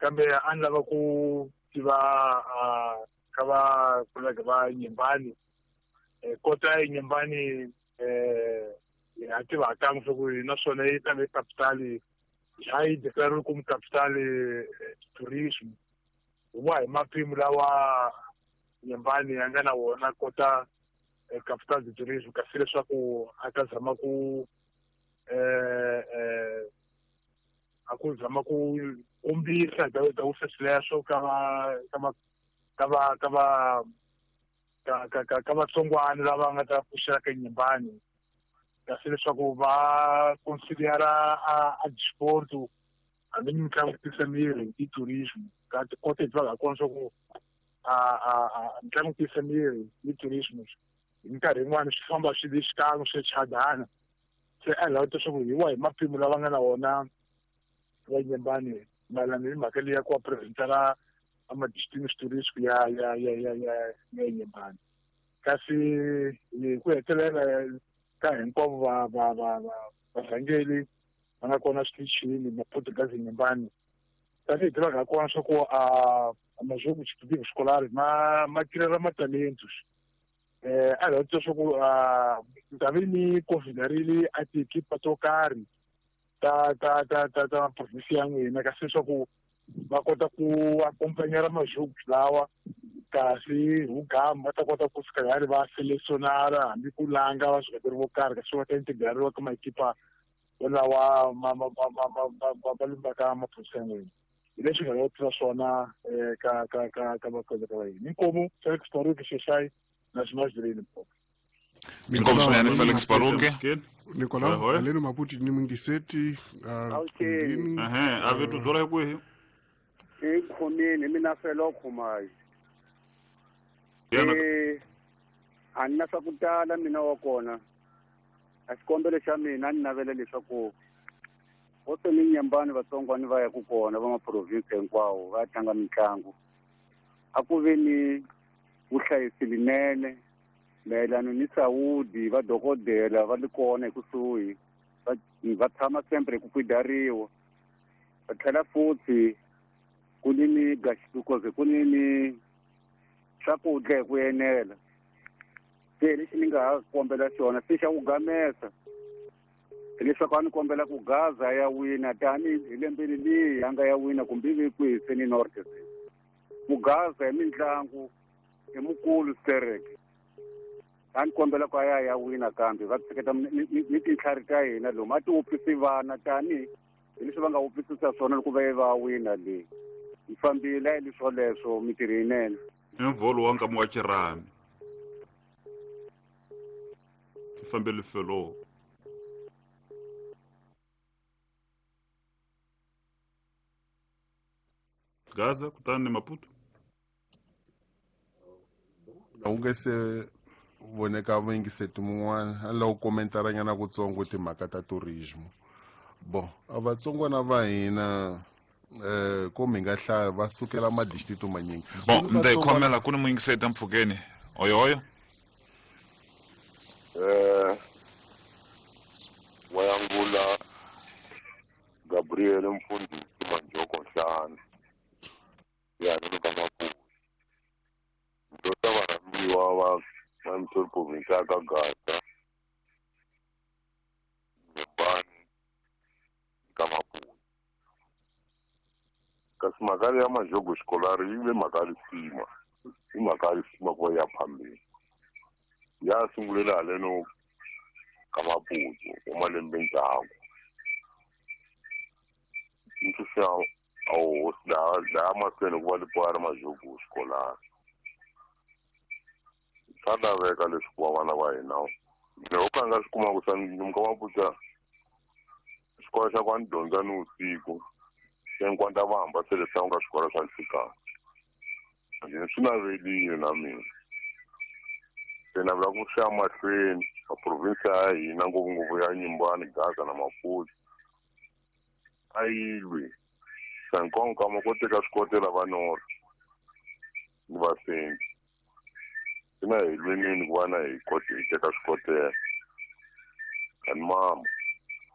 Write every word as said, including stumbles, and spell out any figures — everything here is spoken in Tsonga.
Kambe a ni lava ku tiva ka va kolege va Nyembani. Kota ya Nyembani eh ha tiva kan'we swa ku naswona yi ta ve capital ya yi declare como capital tourism. Hi mapimo lawa Nyembani ya nga na wona kota capital de tourism kasi leswaku a ta zama ku eh eh a ku zama ku kombisa ta ta sweswo ka va ka va ka va ka va ka ka ka vatsongwana lava nga ta pfuxela ka Nyembani kasi leswaku va considera a a sport hambi mitlangu tisa miri i tourism ka kota hi tiva kona swa ku a a a mitlangu tisa miri i tourism hi minkarhi yin'wana swi famba swi li xikan'we swi chadana se a lava leswaku hi wa hi mapimo lava nga na wona va Nyembani mayelana ni mhaka leyi ya ku va presentela ama destino turístico ya ya ya ya ya ya Nyembani kasi hi ku hetelela ka hinkwavo va va va va varhangeli va nga kona switichini Maputo Nyembani tanihi tivaka ha kona swa ku a majogo esportivo escolar ma ma tirhela matalentos eh a lava twa swa ku a vi ni considerile a tiekipa to karhi ta ta ta ta ta provinsi ya n'wina kasi leswaku va kota ku akompanyera majogo lawa kasi hugama va ta kota ku fika hari va selecionara hambi ku langa va swikateri vo karhi kasi va ta integrariwa ka maekipa lawa ma ma ma ma ma ma va lumbaka maprovinsi ya n'wina hi leswi nga lava tiva swona ka ka ka ka vakoleka va hina inkomu Felix Baruke Sheshai na Limpopo. Inkomu swinene Felix Baruke. Nicolau aleno Maputo ni Mungiseti ehe a vetu zora kwihi e khomeni mina felo khomayi eh a nna swa ku tala mina wa kona a xikombelo xa mina ni navela leswaku hosi ni Nyembani vatsongwana va ya ku kona va maprovinsi hinkwawo va tlanga mitlangu a ku ve ni vuhlayisi linene mayelana ni saudi va dokodela va li kona ekusuhi va va tshama sempre ku kwidariwa va tlhela futhi ku ni ni because ku ni ni swakudya hi ku enela se lexi ni nga ha kombela xona se xa ku gamesa hileswaku a ni kombela ku Gaza ya wina tanihi lembeni leyi a nga ya wina kumbe ivi kwihi se ni North se ku Gaza hi mitlangu i mukulu sterek a ni kombela ku a ya ya wina kambe va tsheketa ni tintlhari ta hina lomu a ti wupfisi vana tanihi hi leswi va nga wupfisisa swona loko va ye va wina leyi yi fambile hi leswo leswo mintirho yinene i mvolo wa nkama wa xirhami fambele felo Gaza kutani ni Maputo u nge se voneka vuyingiseti mun'wana a lava ku komentaranyana kutsongo timhaka ta tourism bon a vatsongwana va hina eh ko mi nga hlaya va sukela madistrito manyingi bon ndzi khomela ku ni muyingiseti mpfhukeni oyo oyo eh wayangula Gabriel mfundisi Manjoko Nhlana ya ni ka Maputo ndo ta varhambiwa va va mthori provinsi ya ka Gaza Nyembani ka Maputo kasi mhaka ya majogo xikolari yi ve mhaka ya risima i mhaka ya risima ku va ya phambeni ya sungulela haleno ka Maputo wa malembe ndzhaku ntshunxa a hosi laha laha mahlweni ku va lipoya ri majogo xikolari swa laveka leswi ku va vana va hina mina ho ka nga swi kuma ku sa ka Maputo xikolo xa ku a ni dyondza ni vusiku se nkwanta va hamba se leswaku ka swikolo swa nhlikani ende swi navelile na mina se navela ku swi ya mahlweni a provinsi ya hina ngopfungopfu ya Nyembani Gaza na Maputo a yi lwi sa nkonka ma ko teka swikotela va north ni va centre sina hi lwenini ku va na hi kote hi teka swikotela kani mama